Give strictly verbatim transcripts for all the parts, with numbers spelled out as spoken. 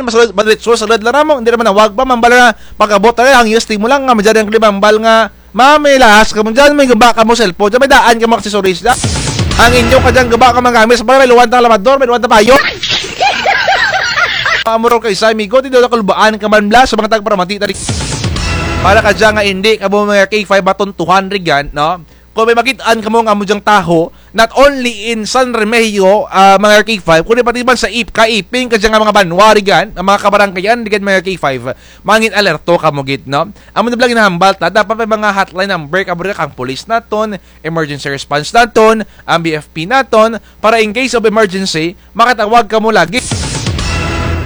Mas madretso sa lad lang namo, hindi naman nawag pa, mambal nga, pag-abot tayo, ang yes, mo lang, nga, madyan ang klima, mambal nga, ma'am, may lahas kamo dyan, may guba kamo cellphone dyan, may daan kamo accessories dyan. Ang inyo ka dyan, guba ka mga gamit, sa mga may luwan tang labador, may luwan tang payo. Amor kay sa amigo, di daw nakalubaan ka man bla, sa mga tagparamati, tari. Para ka dyan nga, hindi, kamo mga K five matuntuhan, rigan, no? Kung may makit-an kamo nga amo dyang taho, not only in San Remigio, ah, mga K five, kundi pati man sa ip-, kaiping ka dyan nga mga banwa, rigan, ang mga kabaranggayan, rigan, mga K five, mangin alerto kamo gid, no? Amo na bala ginahambal ta, dapat may mga hotline number, kamo rigan, kang police naton, emergency response naton, ang B F P naton, para in case of emergency, makatawag kamo lagi.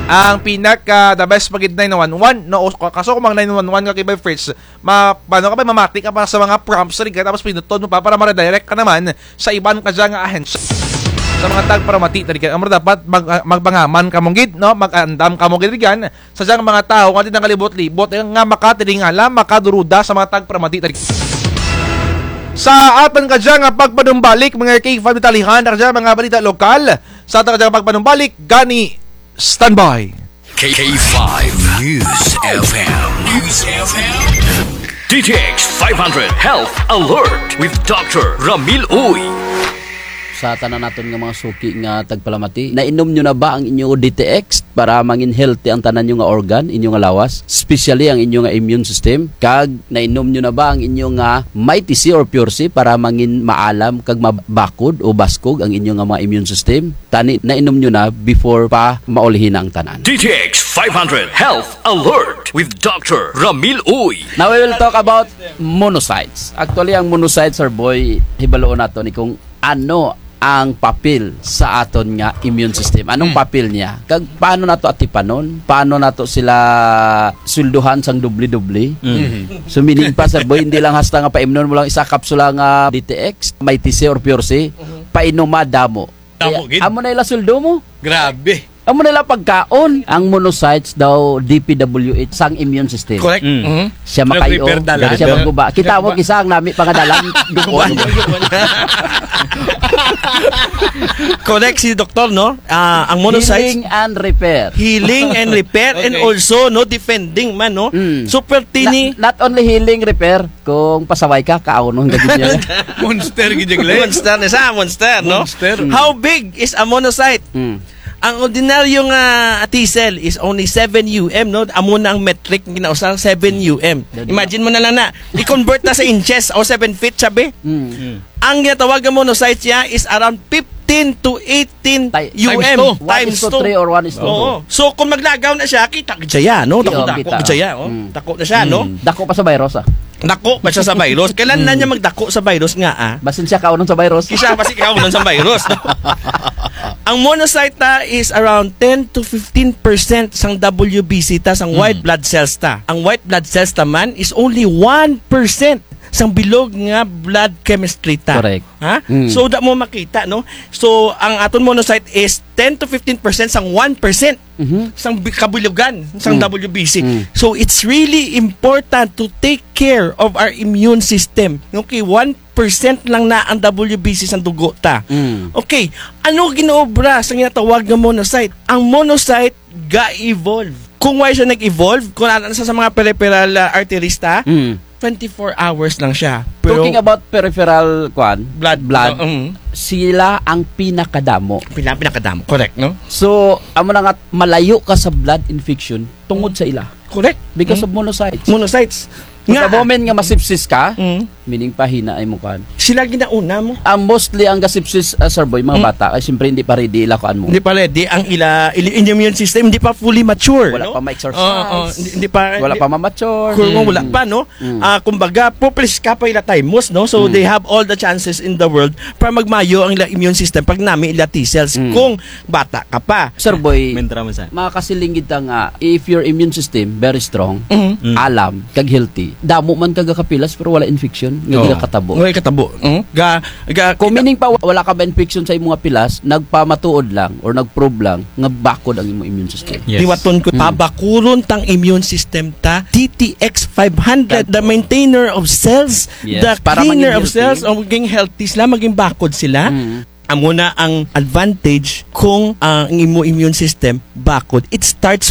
Ang pinaka the best pa gid nine one one, no? O, kaso kung mag nine one one ka kay by Fritz, ma-, paano ka ba, mamati ka pa sa mga prompts, rigan, tapos pinuton mo pa para ma-redirect ka naman sa iban ka dyan nga ahensya. Sa mga tagparamati, rigan, amo dapat mag-, ah, magpangaman kamo gid, no? Mag-andam kamo gid, rigan, sa dyang mga tawo nga di nangalibot-libot, eh, nga makatilingala, makaduruda sa mga tagparamati, rigan. Sa atun ka dyan nga pagpanumbalik, mga K five, detalyehan, ka dyan, mga balita lokal, sa atun ka dyan nga pagpanumbalik, gani, standby. K five News F M. News F M. D T X five hundred Health Alert with Doctor Ramil Uy. Sa tanan naton nga mga suki nga tagpalamati, nainom nyo na ba ang inyo D T X para mangin healthy ang tanan nyo nga organ, inyo nga lawas, especially ang inyo nga immune system? Kag nainom nyo na ba ang inyo nga Mighty C or Pure C para mangin maalam kag mabakod o baskog ang inyo nga mga immune system? Tani, nainom nyo na before pa maulihi na ang tanan. D T X five hundred Health Alert with Doctor Ramil Uy. Now we will talk about monocytes. Actually, ang monocytes, sir boy, hibaloon naton ni kung ano ang papel sa aton nga immune system. Anong Hmm. papel niya? Kag paano nato atipanon? Paano nato sila sweldohan sang doble-doble? Hmm. So, meaning pa, sir boy, hindi lang hasta nga paimnon mo lang isa kapsula nga D T X, Mighty C or Pure C, Mhm. painuma damo. Damo Kaya, gid. amo na ila sweldo mo. Grabe. Amo na ila pagkaon. Ang monocytes daw, D P W H, sang immune system. Correct. Mm. Mhm. Siya makayo, Nag-repair dala. Siya Correct. magguba. Kita mo, Correct. kisa ang nami pangadalan, dugon. Correct si doktor, no? Ah, ang monocytes, Healing and repair. healing and repair and Okay. also, no, defending man, no? Mm. Super tini. Na-, not only healing, repair, kung pasaway ka, kaawnon ka gid niya. Monster gid yung life. Monster na siya, monster, no? Monster. Mm. How big is a monocyte? Mm. Ang ordinaryo nga T cell is only seven U M, no? Amo na ang metric nga ginausa, seven U M. Dali. Imagine mo na lang na, i-convert na sa inches o seven feet, sabi. Mm. Mm. Ang ginatawag nga monocyte niya is around fifteen to eighteen Ti-, U M. Times two. One is to three or one is to Oo. two. So, kung maglagaw na siya, kita gid siya, no? Kita, Dako-dako kita. gid siya, oh. Mm. Dako na siya, no? Mm. Dako pa sa virus, ah. Dako pa siya sa virus. Kailan na Mm. niya magdako sa virus nga, ah? Basin siya kaawnon sa virus. Kisa basin kaawnon sa virus, no? Ang monocyte ta is around ten to fifteen percent sang W B C ta, sang Mm. white blood cells ta. Ang white blood cells ta man is only one percent sang bilog nga blood chemistry ta. Correct. Ha? Mm. So, da mo makita, no? So, ang aton monocyte is ten to fifteen percent sang one percent Mhm. sang bi-, kabilogan, sang Mm. W B C. Mm. So, it's really important to take care of our immune system. Okay, one percent lang na ang W B C sang dugo ta. Mm. Okay, ano ginaobra sa ginatawag nga monocyte? Ang monocyte ga-evolve. Kung why siya nag-evolve, kung ano sa, sa mga peripheral, ah, arteries ta, Mm. twenty-four hours lang siya. Pero Talking about peripheral, kwan, Blood. blood, Oo, mm. sila ang pinakadamo. Pina-, pinakadamo. Correct, no? So, amo na nga, malayo ka sa blood infection tungod sa ila. Correct. Because Mm. of monocytes. Monocytes. Nga. Pagka moment nga masipsis ka, Mm. meaning pahina ay mo kwan. Sila ginauna mo. Ang mostly ang gasipsis, ah, sir boy, mga Mm. bata, ay siyempre hindi pa ready ila kuan mo. Hindi pa ready ang ila, ila immune system, hindi pa fully mature, Wala no? pa ma-exercise. Oo, oo. Hindi, hindi pa, Wala hindi pa ma-mature. Kung Mm. wala pa, no? Mm. Ah, kumbaga, pupliska pa ila taymos, no? So, Mm. they have all the chances in the world para magmayo ang ila immune system pag nami ila T cells Mm. kung bata ka pa. Sir Boy, Mentra mo sa. makakasiling kita nga, if your immune system very strong, Mm. Mm. alam, kag healthy, damo man ka gakapilas pero wala infection, nga Oo. gakatabo. Wala katabo. Mm. Ga, ga, Kung kita meaning pa, wala ka ba infection sa imong pilas, nagpamatuod lang or nag-prove lang nga bakod ang imong immune system. Yes. Hiwaton ko, Mm. pabakuron tang immune system ta, D T X five hundred, the Tagpo. maintainer of cells, Yes, the para cleaner maging of cells, healthy. o maging healthy sila, maging bakod sila. Mm. Amo na ang advantage kung ang imo immune system bakod. It starts